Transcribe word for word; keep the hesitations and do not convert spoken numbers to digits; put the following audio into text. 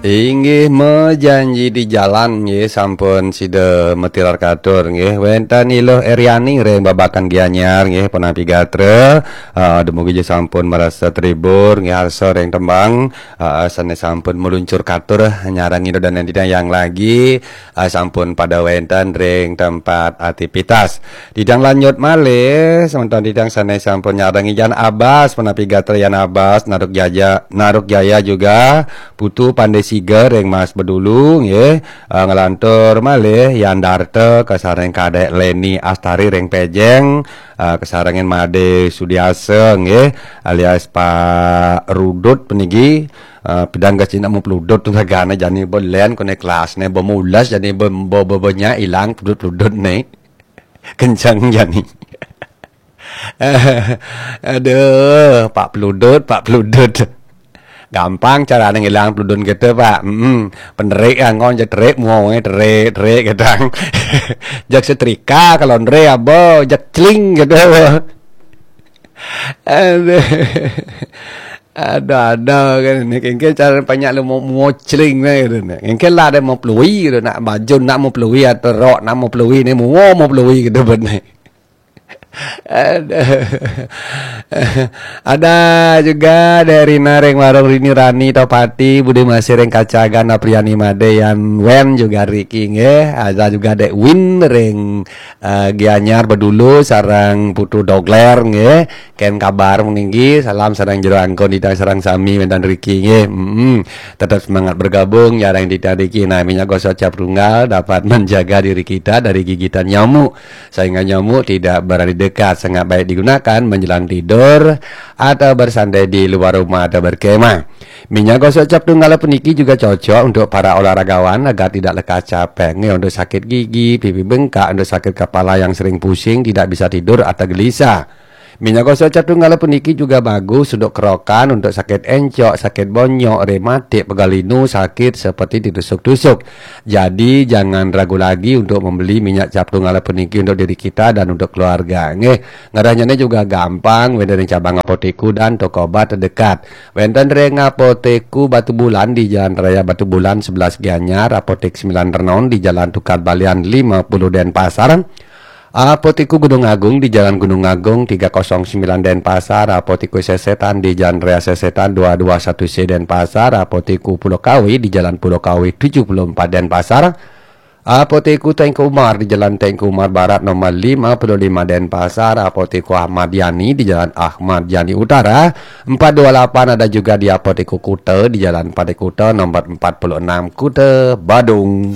Inggih, mejanji di jalan nggih, sampun sida matilar katur nggih. Wénten Iluh Eriani ring Babakan Gianyar nggih, punapi gatra. Ah, dumugi ja sampun marasa terhibur nggih, arsa ring tembang, ah, sané sampun meluncur katur nyarengin dané titiang lagi, ah, sampun pada wénten ring tempat aktivitas. Titiang lanjut malih, semeton titiang sané sampun nyarengin Yan Abas, punapi gatra Yan Abas, Naruk Jaya, Naruk Jaya juga, Putu Pandé Siga ring Mas Bedulu nggih. Ah, nglantur malih Yan Darta kasarengin Kadék Leni Astari ring Pejeng, ah, kasarengin Madé Sudiasa nggih, alias Pak Rudut puniki. Ah, pidang gasi nak mau peludut tu ragané jani bo lén koné kelasné bo mules jani bo, bo, bo, bo nya ilang peludut-peludut né. Kenceng jani. Aduh, Pak Peludut, Pak Peludut. Gampang carané ngilang peludun kita, Pak. Mm-mm. Penerik ya, ngon jak terik, muané terik, terik gedang. Jak setrika kalau nere apa, jak celing gitu. Aduh. Ada-ada kan ni, kengke cara banyak lu mau, mau celing ni gitu ni. Kengke lah ada mau pelui gitu, nak baju nak mau pelui atau rok nak mau pelui ni, mau, mau pelui gitu benar. Ada, ada juga dari Nareng Warung Rini Rani Topati, Budi Masih Reng Kacagan, Apriani Made, Yan Wen juga Ricky nggih. Ada juga Dek Win Reng, eh, Gianyar Bedulu sarang Putu Dogler nggih. Ken kabar meninggi, salam sarang jero angkon titiang sarang sami wénten Ricky nggih. Mm-mm. Tetap semangat bergabung, nyarengin titiang Ricky. Nah, minyak gosok cap tunggal dapat menjaga diri kita dari gigitan nyamuk. Sehingga nyamuk tidak berani dekat, sangat baik digunakan menjelang tidur atau bersantai di luar rumah atau berkemah. Minyak gosok cap tunggal puniki juga cocok untuk para olahragawan agar tidak lekas capek. Nggih, untuk sakit gigi, pipi bengkak, untuk sakit kepala yang sering pusing, tidak bisa tidur atau gelisah. Minyak gosok cap tunggal puniki juga bagus untuk kerokan, untuk sakit encok, sakit bonyok, rematik, pegal linu, sakit seperti ditusuk-tusuk. Jadi, jangan ragu lagi untuk membeli minyak cap tunggal puniki untuk diri kita dan untuk keluarga. Nggih, ngerehnyané juga gampang, wénten ring cabang Apotiku dan toko obat terdekat. Wénten ring Apotiku Batu Bulan di Jalan Raya Batu Bulan sebelas Gianyar, Apotik Sembilan Renon di Jalan Tukad Balian lima puluh Denpasar. Apotiku Gunung Agung di Jalan Gunung Agung tiga kosong sembilan Denpasar, Apotiku Sesetan di Jalan Raya Sesetan dua dua satu C Denpasar, Apotiku Pulau Kawi di Jalan Pulau Kawi tujuh puluh empat Denpasar, Apotiku Teuku Umar di Jalan Teuku Umar Barat nomor lima puluh lima Denpasar, Apotiku Ahmad Yani di Jalan Ahmad Yani Utara empat dua lapan, ada juga di Apotiku Kuta di Jalan Pantai Kuta nomor empat puluh enam Kuta Badung.